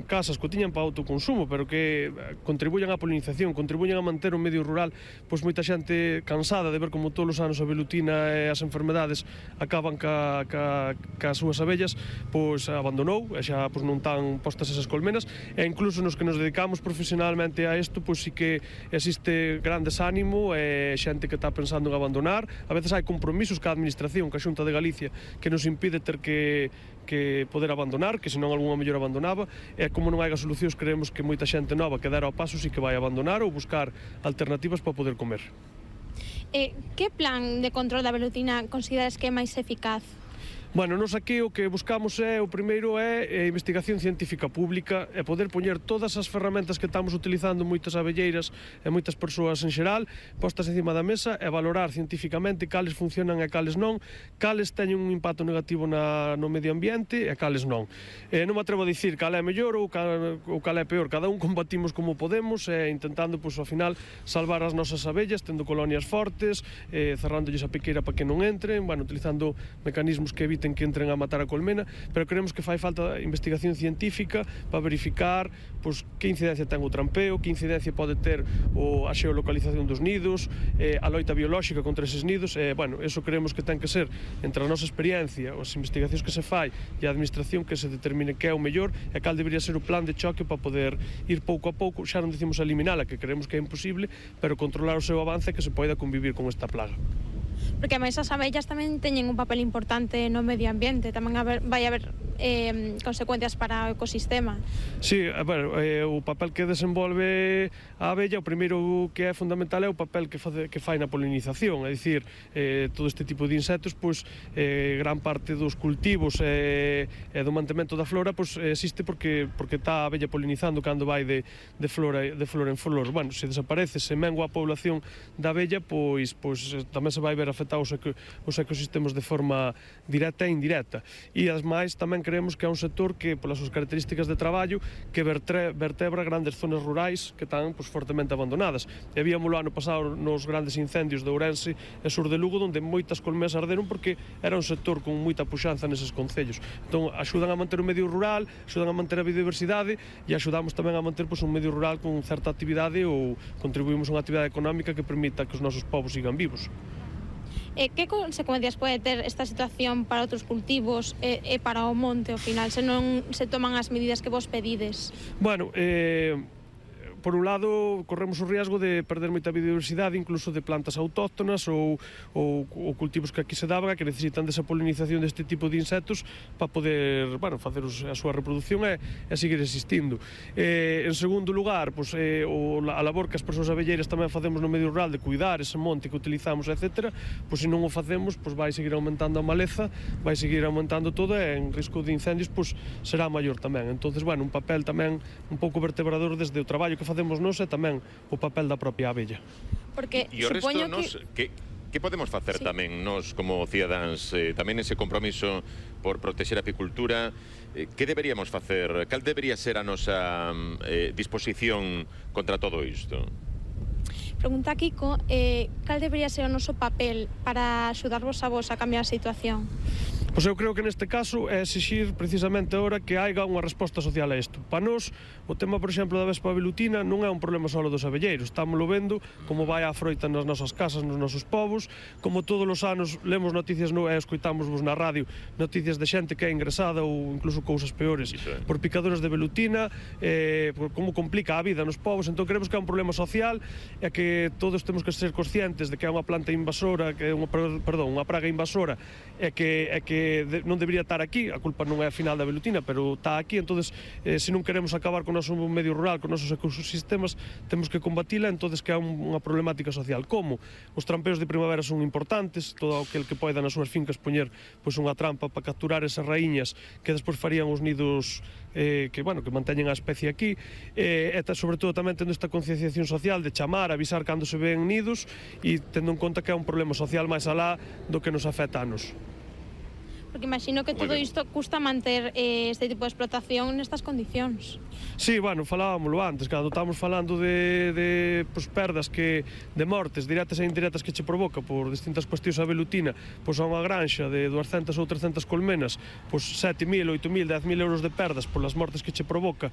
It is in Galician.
casas que o tiñan para autoconsumo, pero que contribuyan á polinización, contribuyan a manter o medio rural, pois moita xente cansada de ver como todos os anos a velutina e as enfermedades acaban cas súas abellas, pois abandonou, e xa pois non tan postas esas colmenas, e incluso nos que nos dedicamos profesionalmente a isto, pois sí que existe gran desánimo e xente que está pensando en abandonar. A veces hai compromisos ca administración, ca Xunta de Galicia, que nos impide ter que poder abandonar, que senón algunha mellor abandonaba, e como non hai solucións, creemos que moita xente nova que dera ao paso sí que vai abandonar ou buscar alternativas para poder comer. Que plan de control da velutina consideras que é máis eficaz? Bueno, nos aquí o que buscamos o primeiro é investigación científica pública e poder poñer todas as ferramentas que estamos utilizando moitas abelleiras e moitas persoas en xeral postas encima da mesa e valorar científicamente cales funcionan e cales non, cales teñen un impacto negativo no medio ambiente e cales non. Non me atrevo a dicir cal é mellor ou cal é peor, cada un combatimos como podemos intentando, pois, ao final, salvar as nosas abellas, tendo colonias fortes, cerrándolles a piqueira para que non entren, bueno, utilizando mecanismos que eviten que entren a matar a colmena, pero creemos que fai falta investigación científica para verificar pois, que incidencia ten o trampeo, que incidencia pode ter a xeolocalización dos nidos, a loita biolóxica contra eses nidos, bueno, eso creemos que ten que ser entre a nosa experiencia, as investigacións que se fai e a administración que se determine que é o mellor e cal debería ser o plan de choque para poder ir pouco a pouco, xa non decimos eliminala, que creemos que é imposible, pero controlar o seu avance e que se poida convivir con esta plaga. Porque ademais as abellas tamén teñen un papel importante no medio ambiente, tamén vai haber consecuencias para o ecosistema. Sí, o papel que desenvolve a abella, o primeiro que é fundamental é o papel que fai na polinización, é dicir, todo este tipo de insectos, pois gran parte dos cultivos e do mantemento da flora pois existe porque está a abella polinizando cando vai de flora en flor. Bueno, se desaparece, se mengua a población da abella, pois tamén se vai ver afectados os ecosistemas de forma directa e indirecta. E ademais tamén creemos que é un sector que, polas súas características de traballo, que vertebra grandes zonas rurais que están fortemente abandonadas. E víamoslo ano pasado nos grandes incendios de Ourense e sur de Lugo, onde moitas colmenas arderon porque era un sector con moita puxanza neses concellos. Entón, axudan a manter o medio rural, axudan a manter a biodiversidade e axudamos tamén a manter un medio rural con certa actividade ou contribuímos a unha actividade económica que permita que os nosos povos sigan vivos. Que consecuencias pode ter esta situación para outros cultivos e para o monte, ao final, se non se toman as medidas que vos pedides? Bueno, por un lado, corremos o riesgo de perder moita biodiversidade, incluso de plantas autóctonas ou cultivos que aquí se daban, que necesitan desa polinización deste tipo de insectos para poder, bueno, facer a súa reproducción e seguir existindo. En segundo lugar, a labor que as persoas abelleiras tamén facemos no medio rural de cuidar ese monte que utilizamos, etc., se non o facemos, vai seguir aumentando a maleza, vai seguir aumentando todo e en risco de incendios será maior tamén. Entonces, bueno, un papel tamén un pouco vertebrador desde o traballo que facemos nós e tamén o papel da propia abella. Porque e o resto que podemos facer tamén nós como cidadáns, tamén ese compromiso por protexer a apicultura, que deberíamos facer? Cal debería ser a nosa disposición contra todo isto? Pregunta Kiko, cal debería ser o noso papel para axudarvos a vos a cambiar a situación? Pois eu creo que neste caso é exixir precisamente agora que haiga unha resposta social a isto. Para nós, o tema, por exemplo, da vespa velutina non é un problema só dos abelleiros. Estámoslo vendo como vai a froita nas nosas casas, nos nosos povos, como todos os anos lemos noticias e escoitámosvos na radio noticias de xente que é ingresada ou incluso cousas peores por picadoras de velutina, como complica a vida nos povos. Entón creemos que é un problema social e que todos temos que ser conscientes de que é unha planta invasora, que é unha praga invasora e que non debería estar aquí, a culpa non é a final da velutina, pero está aquí. Entonces, se non queremos acabar con o noso medio rural, con os nosos ecosistemas, temos que combatila. Entonces, que é unha problemática social. Como? Os trampeos de primavera son importantes, todo aquel que poida nas súas fincas poñer unha trampa para capturar esas raíñas que despois farían os nidos que manteñen a especie aquí, e sobre todo tamén tendo esta concienciación social de chamar, avisar cando se ven nidos e tendo en conta que é un problema social máis alá do que nos afecta a nos. Porque imagino que todo isto custa manter este tipo de explotación nestas condicións. Sí, bueno, falábamoslo antes, cando estamos falando de perdas de mortes directas e indirectas que che provoca por distintas cuestións a velutina, a unha granxa de 200 ou 300 colmenas, 7.000, 8.000, 10.000 euros de perdas polas mortes que che provoca